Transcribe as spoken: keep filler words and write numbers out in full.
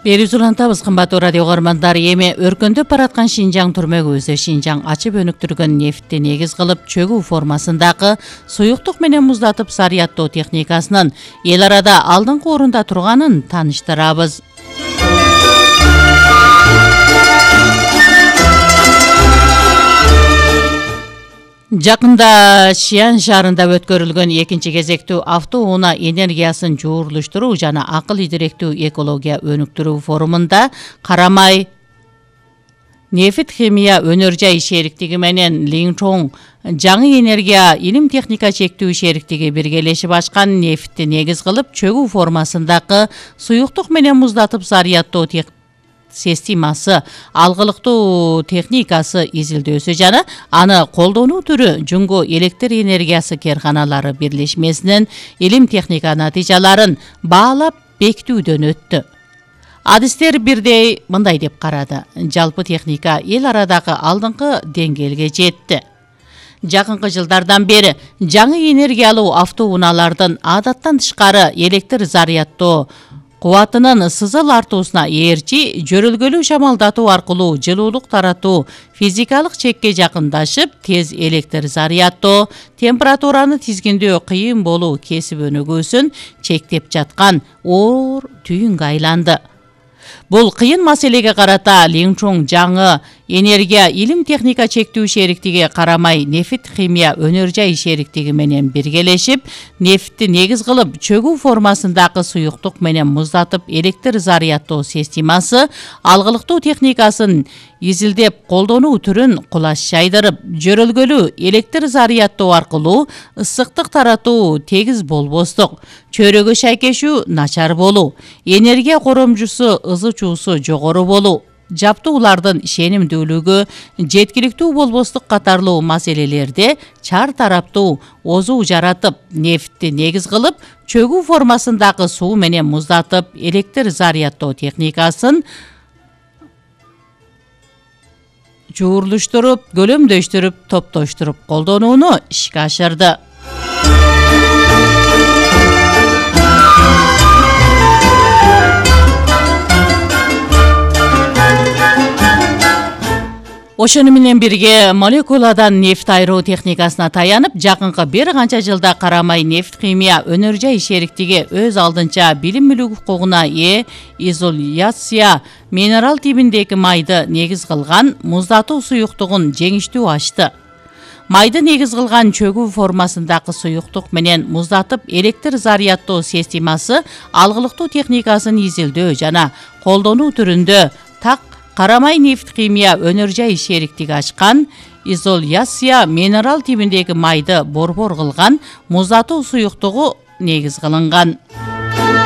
Берүүсү улантабыз, кымбаттуу радио угармандар. Эми өркөндөп бараткан Шинжаң түрмөгүбүздө Шинжаң ачып өнүктүргөн нефтти негиз кылып чөгүү формасындагы суюктук менен муздатып зарядтоо техникасынын эл арада алдыңкы орунда турганын тааныштырабыз. Жакында Шиан шаарында өткөрүлгөн экинчи кезектүү автоунаа энергиясын жуурулуштуруу жана акыл идиректүү экология өнүктүрүү форумунда Карамай нефт химия өнөр жай шериктиги менен Линчжоу жаңы энергия илим техника чектүү шериктиги биргелешип ачкан нефтти негиз кылып чөгүү формасындагы суюктук менен муздатып зарядтоо системасы алгылыктуу техникасы изилдөөсү жана аны колдонуу түрү Жуңго электр энергиясы керканалары бирлешмесинин илим техника натыйжаларын баалап бекитүүдөн өттү. Адистер бирдей мындай деп карады: жалпы техника эл арадагы алдыңкы деңгээлге жетти. Жакынкы жылдардан бери жаңы энергиялуу автоунаалардын адаттан тышкары электр зарядтоо кубатынын сызыл артуусуна ээрчи жөрөлгөлүү шамалдатуу аркылуу жылуулук таратуу физикалык чекке жакындашып, тез электр зарядтоо, температураны тизгиндөө кыйын болуу кесип өнүгүүсүн чектеп жаткан оор түйүнгө айланды. Бул кыйын маселеге карата Линчжоу жаңы энергия илим техника чектүү шериктиги Карамай нефт химия өнөр жай шериктиги менен биргелешип, нефтти негиз кылып чөгүү формасындагы суюктук менен муздатып электр зарядтоо системасы алгылыктуу техникасын изилдеп колдонуу түрүн кулаш жайдырып, жөрөлгөлүү электр зарядтоо аркылуу ысыктык таратуу тегиз болбостук, чөйрөгө шайкешүү начар болуу, энергия коромчусу ызычуусу жогору болуу, жаптуулардын ишенимдүүлүгү жеткиликтүү болбостук катарлуу маселелерде чар тараптуу озуу жаратып, нефтти негиз кылып чөгүү формасындагы суу менен муздатып электр зарядтоо техникасын жуурулуштуруп, көлөмдөштүрүп, топтоштуруп колдонууну ишке ашырды. Ошону менен бирге молекуладан нефт айыруу техникасына таянып, жакынкы бир канча жылда Карамай нефт химия өнөр жай шериктиги өз алдынча билим укугуна ээ изоляция минерал тибиндеги майды негиз кылган муздатуу суюктугун жеңиштүү ачты. Майды негиз кылган чөгүү формасындагы суюктук менен муздатып электр зарядтоо системасы алгылыктуу техникасын изилдөө жана колдонуу түрүндө так Карамай нефт химия өнөр жай шериктиги ачкан изоляция минерал тибиндеги майды борбор кылган муздатуу суюктугу негиз кылынган.